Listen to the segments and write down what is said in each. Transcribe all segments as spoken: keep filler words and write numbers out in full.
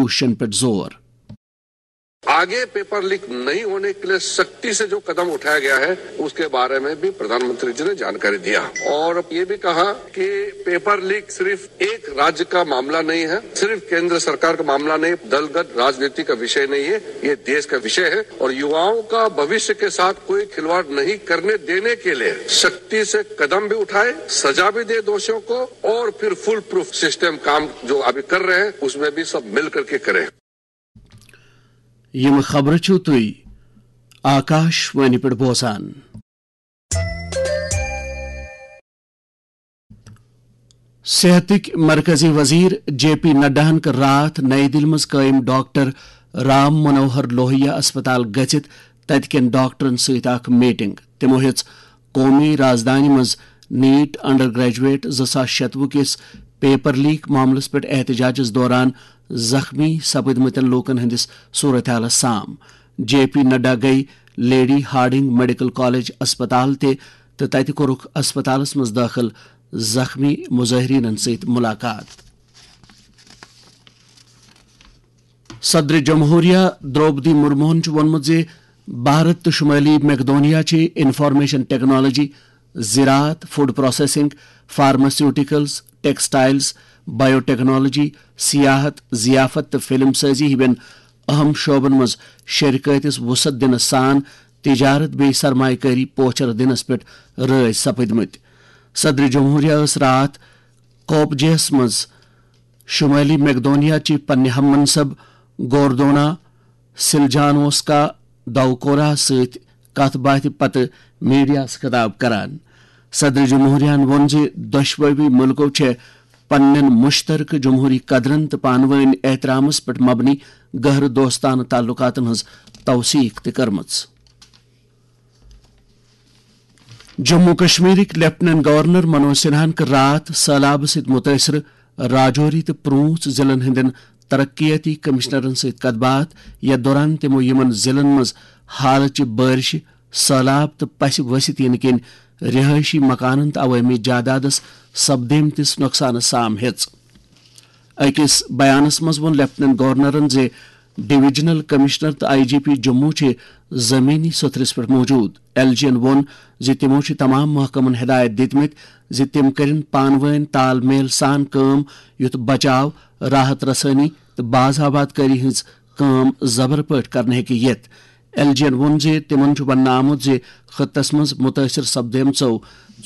کوششن پٮ۪ٹھ زور۔ आगे पेपर लीक नहीं होने के लिए सख्ती से जो कदम उठाया गया है, उसके बारे में भी प्रधानमंत्री जी ने जानकारी दिया और ये भी कहा कि पेपर लीक सिर्फ एक राज्य का मामला नहीं है, सिर्फ केंद्र सरकार का मामला नहीं, दलगत राजनीति का विषय नहीं है, ये देश का विषय है और युवाओं का भविष्य के साथ कोई खिलवाड़ नहीं करने देने के लिए सख्ती से कदम भी उठाए, सजा भी दे दोषियों को और फिर फुल प्रूफ सिस्टम काम जो अभी कर रहे हैं, उसमें भी सब मिल करके करें। یِم خبرٕ چھِو تُہۍ آکاش وانی پٮ۪ٹھ بوزان۔ صحتٕکۍ مرکزی وزیر جے پی نڈاہن کٔر راتھ نئی دِلہِ منٛز قٲیِم ڈاکٹر رام منوہر لوہیا اسپتال گٔژھِتھ تَتہِ کٮ۪ن ڈاکٹرن سۭتۍ اکھ میٹنگ۔ تِمو ہیٚژ قومی رازدانہِ منٛز نیٹ انڈر گریجویٹ زٕ ساس شتوُہ کِس پیپر لیک معاملس پٮ۪ٹھ احتجاجس دوران زخمی سپدمٕتٮ۪ن لوٗکن ہٕنٛدِس صورتحالس سام۔ جے پی نڈا گٔیہِ لیڈی ہارڈنگ میڈیکل کالج اسپتال تہِ تہٕ تَتہِ کوٚرُکھ اسپتالس منٛز دٲخل زخمی مظاہریٖنن سۭتۍ مُلاقات۔ صدر جمہوریہ درٛوپدی مرموہن چھُ ووٚنمُت زِ بھارت تہٕ شمٲلی میکدونیا چھِ انفارمیشن ٹیکنالوجی، زراعت، فوڈ پروسیسنگ، فارماسیوٹیکلز، ٹیکسٹائلز، بایو ٹیکنالوجی، سیاحت، ضیافت تہٕ فلم سازی ہِوٮ۪ن اہم شعبن منٛز شرکٲتِس وسعت دِنس سان تجارت بیٚیہِ سرمایہ کٲری پوچھر دِنس پٮ۪ٹھ رٲضۍ سپدمٕتۍ۔ صدر جمہوریہ ٲس راتھ کوپجیس منٛز شمٲلی میکدونیا چہِ پننہِ ہم منصب گوردونا سلجانوسکا دوکورا سۭتۍ کتھ باتھِ پتہٕ میڈیاہس خطاب کران۔ صدر جمہوریہن ووٚن زِ دۄشوٕے مُلکو چھےٚ پننٮ۪ن مشترکہٕ جمہوری قدرن تہٕ پانہٕ وٲنۍ احترامس پٮ۪ٹھ مبنی گہرٕ دوستانہٕ تعلقاتن ہٕنٛز توثیق تہِ کٔرمٕژ۔ جموں کشمیرٕکۍ لیفٹیننٹ گورنر منوج سنہاہن کٔر راتھ سٔہلابہٕ سۭتۍ مُتٲثرٕ راجوری تہٕ پرونٛژھ ضلعن ہٕنٛدٮ۪ن ترقیاتی کمشنرن سۭتۍ کتھ باتھ، یتھ دوران تِمو یِمن ضلعن منٛز حالٕچہِ بٲرشہِ، سٔہلاب تہٕ پسہِ ؤسِتھ یِنہٕ کِنۍ رہٲیشی مکانن تہٕ عوٲمی جادادس سپدیمتِس نۄقصانس سام ہیٚژ۔ أکِس بیانَس منٛز ووٚن لیفٹیننٹ گورنرَن زِ ڈویژنل کمشنر تہٕ آئی جی پی جموں چھِ زمینی سطحس پٮ۪ٹھ موجود۔ ایل جی یَن ووٚن زِ تِمَو چھِ تمام محکمَن ہدایت دِتمٕتۍ زِ تِم کٔرِن پانہٕ وٲنۍ تال میل سان کٲم، یُتھ بچاو، راحت رسٲنی تہٕ باز آباد کٲری ہٕنٛز کٲم زبر پٲٹھۍ کرنہٕ ہیٚکہِ یِتھ۔ ایل جی یَن ووٚن زِ تِمَن چھُ وننہٕ آمُت زِ خطس منٛز مُتٲثر سپدیمژو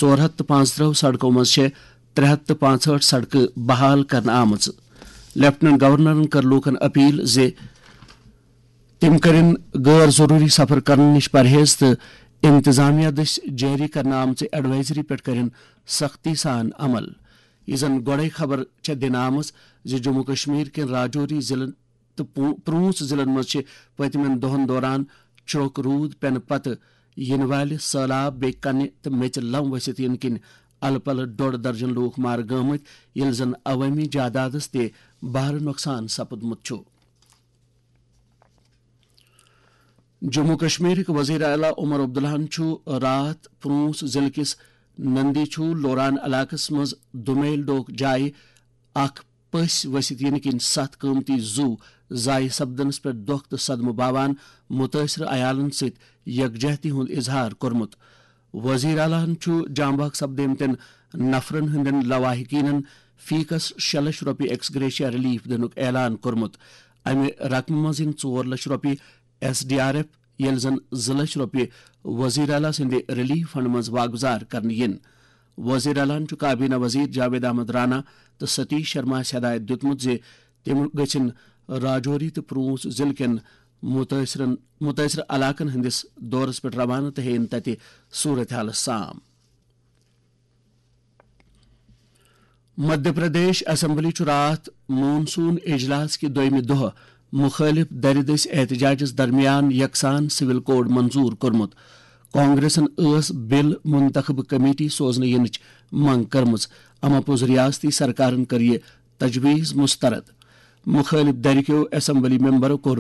ژور ہتھ تہٕ پانٛژترٕٛہ سڑکو منٛز چھےٚ ترٛےٚ ہتھ تہٕ پانٛژہٲٹھ سڑکہٕ بحال کرنہٕ آمٕژ۔ لیفٹیننٹ گورنرن کٔر لوٗکن اپیل زِ تِم کٔرِن غٲر ضروٗری سفر کرنہٕ نِش پرہیز تہٕ انتظامیہ دٔسۍ جٲری کرنہٕ آمژِ ایڈوائزری پٮ۪ٹھ کٔرِن سختی سان عمل۔ یہِ زن گۄڈے خبر چھےٚ دِنہٕ آمٕژ زِ جموں کشمیر کٮ۪ن راجوری ضلعن تہٕ پو-، پرونٛژھ ضلعن منٛز چھِ پٔتمٮ۪ن دۄہن دوران چھرۄک روٗد پٮ۪نہٕ پتہٕ یِنہٕ والہِ سٔہلاب بیٚیہِ کنہِ تہٕ میٚژِ لم ؤسِتھ یِنہٕ کِنۍ الہٕ پلہٕ ڈۄڈ درجن لوٗکھ مارٕ گٲمٕتۍ، ییٚلہِ زن عوٲمی جادادس تہِ بھارٕ نۄقصان سپُدمُت چھُ۔ جموں کشمیرٕکۍ وزیر اعلیٰ عمر عبداللہن چھُ راتھ پرونٛژھ ضلعہٕ کِس نندی چھو لوران علاقس منٛز دُمیل ڈوک جایہِ اکھ پٔسۍ ؤسِتھ یِنہٕ کِنۍ ستھ قۭمتی زُو ضایع سپدنس پٮ۪ٹھ دۄکھ تہٕ صدمہٕ باوان مُتٲثرٕ عیالن سۭتۍ یکجہتی ہُنٛد اظہار کوٚرمُت۔ وزیر اعلیٰ ہن چھُ جام بحق سپدیمتٮ۪ن نفرن ہٕنٛدٮ۪ن لواحقینن فی کس شےٚ لچھ رۄپیہِ ایکس گریشیا ریلیف دِنُک اعلان کوٚرمُت۔ امہِ رقمہِ منٛز یِن ژور لچھ رۄپیہِ ایس ڈی آر ایف، ییٚلہِ زن زٕ لچھ رۄپیہِ وزیر اعلیٰ سٕنٛدِ ریلیف فنڈ منٛز واگزار کرنہٕ یِن۔ وزیر اعلیٰ ہن چھُ کابینہ وزیر جاوید احمد رانا تہٕ ستیش شرماہس ہدایت دِیُتمُت زِ تِم گٔژھن راجوری تہٕ پرونٛژھ ضلعہٕ کٮ۪ن مُتٲثرن، مُتٲثرٕ علاقن ہٕنٛدِس دورس پٮ۪ٹھ روانہٕ تہٕ ہیٚیِن تتہِ صورتحالس سام۔ مدھیہ پردیش اسمبلی چھُ راتھ مون سون اجلاس کہِ دوٚیمہِ دۄہہ مُخٲلِف دَرِ دٔسۍ احتجاجَس درمیان یکسان سول کوڈ منظور کوٚرمُت۔ کانگریسَن ٲس بل منتخب کمیٹی سوزنہٕ یِنٕچ منگ کٔرمٕژ، اما پوٚز ریاستی سرکارَن کٔر یہِ تجویز مسترد۔ مُخٲلِف دَرِ کیو اسمبلی ممبرو کوٚر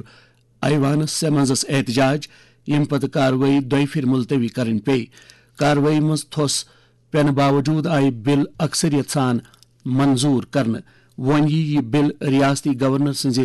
ایوانس سیمنزس احتجاج، ییٚمہِ پتہٕ کاروٲیی دۄیہِ پھِرِ ملتوی کرٕنۍ پیٚیہِ۔ کاروٲیی منٛز تھوٚس پینہٕ باوجوٗد آیہِ بل اکثریت سان منظور کرنہٕ۔ وۄنۍ یی یہِ بل ریاستی گورنر سٕنزِ